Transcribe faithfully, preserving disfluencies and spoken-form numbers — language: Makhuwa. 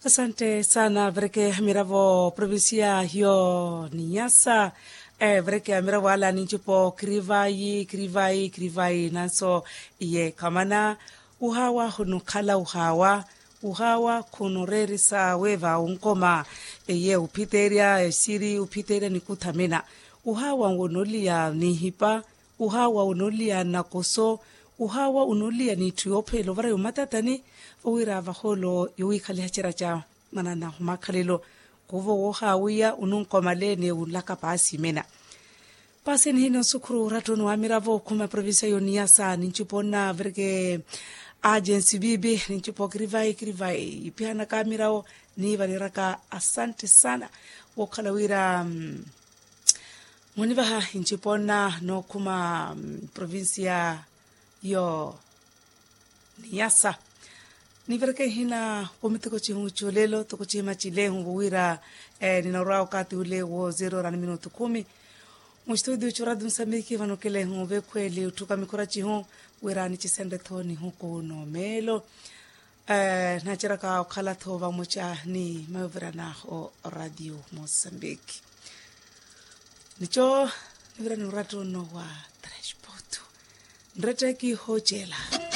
Asante sana vereke miravo provincia yo ninyasa. Vereke miravo ala ninchipo kirivayi kirivayi kirivayi nanso iye kamana. Uhawa hunukhala uhawa uhawa khunureerisa weeva unkoma. Eye uphiteerya esiri uphiteerya nikuthamina. Uhawa wonoliya nihipa. Uhawa unoliya nakoso. Uhawa unoliya n'itthu yoopheela ovara yomatatani. Vowira vahoolo yowiikhaliha cera ca mwanana humakhalelo. Kuvo woohaawiya ununkomale ni unlaka paasi imena. Paasi nihina osukhuru orattoni wa miravo okhuma provincia yoniyasa nincupo nna virke. Agensi bibi nincupo kirivayi kirivayi ipihanaka miravo. Niivaliraka asante sana. Wookhala wira munivaha incupo nna nookhuma provincia yo niyasa. Nivireke nhina wo mitoko cihu colelo toko cihima cilehu vowira ninaorwa wakati ule wo zero orani minutu khumi. Mustudio curadu nsambiki vano kelehu vekhweli otthuka mikhura cihu wira nicisenre tho nihuku nomeelo. Naceraka okhala tho vamoca ni mayovirana o radio mosambiki. Nico nivirani oratto nno wa transporto nretteki hoocela.